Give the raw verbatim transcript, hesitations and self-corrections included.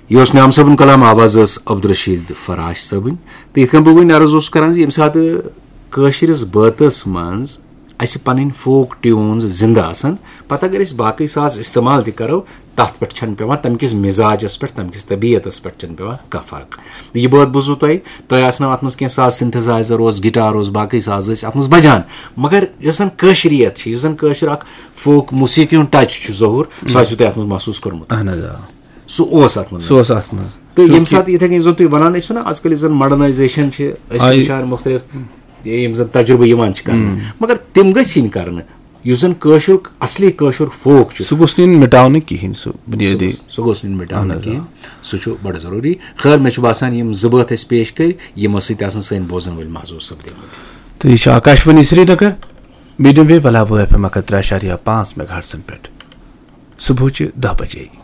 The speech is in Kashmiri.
یہِ اوس نعام صٲبُن کلام، آواز ٲس عبدالرشید فراش صٲبٕنۍ۔ تہٕ یِتھ کٔنۍ بہٕ وۄنۍ عرض اوسُس کران زِ ییٚمہِ ساتہٕ کٲشرِس بٲتس منٛز اسہِ پنٕنۍ فوک ٹیوٗنز زندٕ آسن، پتہٕ اگر أسۍ باقٕے ساز استعمال تہِ کرو، تتھ پٮ۪ٹھ چھنہٕ پٮ۪وان، تمہِ کِس مزاجس پٮ۪ٹھ، تمہِ کِس طبیعتس پٮ۪ٹھ چھنہٕ پٮ۪وان کانٛہہ فرق۔ یہِ بٲتھ بوٗزوٕ تۄہہِ، تۄہہِ آسنو اتھ منٛز کینٛہہ ساز سنتھسائزر اوس، گٹار اوس، باقٕے ساز ٲسۍ اتھ منٛز بجان، مگر یۄس زن کٲشریت چھِ، یُس زن کٲشُر اکھ فوک موسیقی ہُنٛد ٹچ چھُ ظہور، سُہ آسِوٕ تۄہہِ اتھ منٛز محسوٗس کوٚرمُت۔ اہن حظ آ۔ سُہ اوس اتھ منٛز۔ سُہ اوس اتھ منٛز۔ تہٕ ییٚمہِ چونکہِ ساتہٕ یِتھے کٔنۍ یُس زن تُہۍ ونان ٲسِو نا، آز کل یُس زن ماڈرنائزیشن چھِ، أسۍ چھِ آیہِ۔ وٕچھان مُختٔلِف یِم زن تجربہٕ یِوان چھِ کرنہٕ، مگر تِم گٔژھۍ یِنۍ کرنہٕ۔ یُس زن کٲشُر، اصلی کٲشُر فوک چھُ، سُہ گوٚژھ نہٕ یُن مِٹاونہٕ کِہینۍ، سُہ بُنیٲدی۔ سُہ گوٚژھ نہٕ یُن مِٹاونہٕ اہن حظ، آ۔ کِہینۍ۔ سُہ چھُ بڑٕ ضروٗری۔ خٲر، مےٚ چھُ باسان یِم زٕ بٲتھ اَسہِ پیش کٔرۍ، یِم ٲسۍ سۭتۍ آسان سٲنۍ بوزن وٲلۍ محظوظ سپدیمٕتۍ۔ تہٕ یہِ چھُ آکاش وانی سرینگر، میٖڈیم ویو بلاوو ایف ایم اکھ ہتھ ترٛےٚ اَشاریہ پانٛژھ میگا ہرٹزن پٮ۪ٹھ۔ صبحٕچہِ دَہ بجے۔